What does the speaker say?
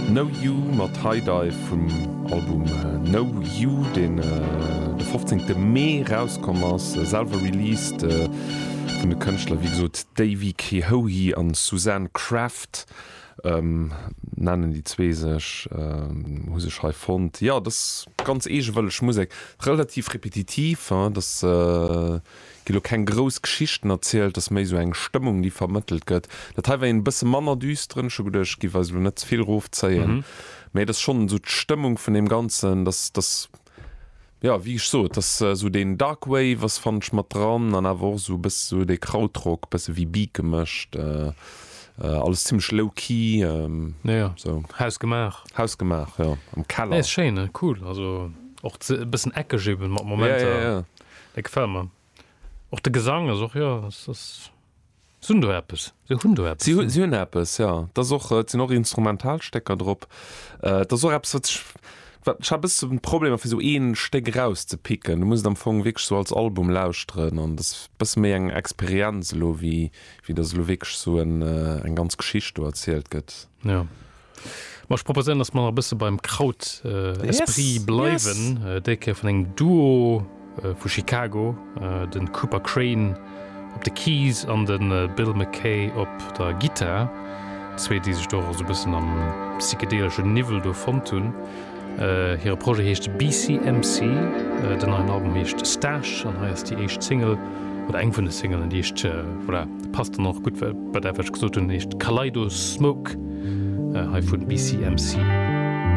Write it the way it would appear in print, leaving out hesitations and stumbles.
No You mat High Dive vum Album No You, deen de 15 Mee rauskomm ass, selwer released vun de Kënschtler wéi gesot Davey Kehoe an Suzanne Craft nennen déi zwee sech, hu sech hei fonnt. Jo, dat ass ganz eegewëlleg Musek, relativ repetitiv, dat ass. Gi lo keng grouss Geschichten erzielt, ass méi sou eng Stëmmung déi vermëttelt gëtt. Dat hei war een bësse manner düsteren, ech hu geduecht ech giff eis lo net ze vill rofzéien, mee et ass schonn sou d'Stëmmung vun deem Ganzen, dass dass jo wéi ech sot, dass sou deen Dark Wave ass fannen ech mat dran an awer och sou e bësse sou dee Krautrock, bësse wéi Beat gemëscht, alles zimmlech low key, sou. Hausgemaach. Hausgemaach, jo, am Keller. Nee ass schéin, cool, also och e bëssen eckeg eben mat Momenter. Ja, ja, ja. Dat gefält mer. Och de Gesang ass och, jo, ass, ass, se hunn do eppes. Se hunn do eppes. Si hunn, si hunn eppes, jo. Et ass och, et sinn och Instrumentalstécker drop. Et ass och eppes, wat ech, wat, ech hat e bësse Problemer, fir esou ee Stéck erauszepicken. Du muss et am Fong wierklech esou als Album lauschteren an et ass e bësse méi eng Experienz elo, wéi, wéi datt elo wierklech esou en, eng ganz Geschicht do erzielt gëtt. Jo. Ma ech proposéieren, dass mer nach e bësse beim Kraut-Esprit bleiwen. Déi Kéier vun engem Duo vu Chicago, de Cooper Crain op de Keys an de Bill McKay op der Gittar. Zwee, déi sech do och esou e bëssen am psychedeleschen Niwwel do fonnt hunn. Hire Projet heescht BCMC, den neien Album heescht Stash an hei ass déi éischt Single, oder eng vun de Singlen, déi heescht, voilà, passt dann och gutt bei dat wat ech gesot hunn, heescht Kaleido Smoke, hei vun BCMC.